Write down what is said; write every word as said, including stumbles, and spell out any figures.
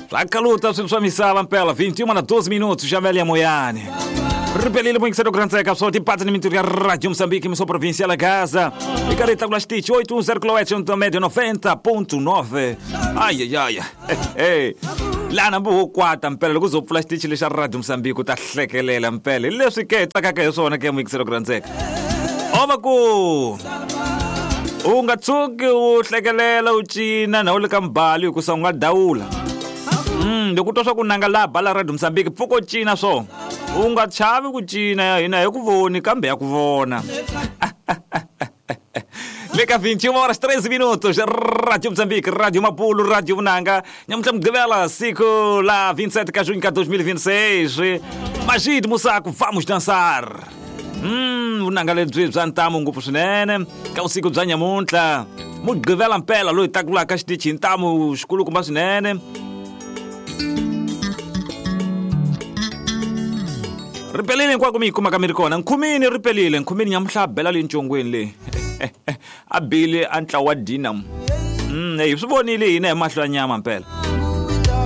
Swa kaluta swilo swa misava mpela vinte e uma na doze minutos já velha moyani. Ripelile muito grande seca só de pata ni ya Rádio Moçambique, emissão provincial Gaza. E careta com stitch oito um zero km médio noventa ponto nove. Ai ai ai. Hey. Lana bu kwata mpela loko zo pfula xitichi lexa Radio Moçambique ta hlekelela mpela. Leswi ke tsakaka hi swona ke mixero grand seka. Ova ku u nga tshuki u hlekelela u cina na u le ka mbali hikusa u nga dawula. Mm, loko twa swa ku nanga la bala Radio Moçambique pfuko cina swo. U nga chavi ku cina hina hi ku voni kambe ya ku vona. Leka vinte e uma horas treze minutos, Rádio Moçambique, Rádio Mapulo, Rádio Vunanga. Nhamuhla Mugqivela, siku la vinte e sete de junho de dois mil e vinte e seis. Magid Musaco, vamos dançar. Hum, vunanga lebyi bya ntamu ngopfu swinene. Ka vusiku bya nyamuntlha, Mugqivela mpela loyi takulaka xitichi ntamu xikulukumba swinene. Ripelile hinkwako mi yi kumaka mi ri kona. Nkhumini ripelile, nkhumini nyamuhla bela le ncongweni leyi. A bile a ntlawa wa Dinam. Mm, hey, swi vonile hina hi mahlo ya nyama mpela.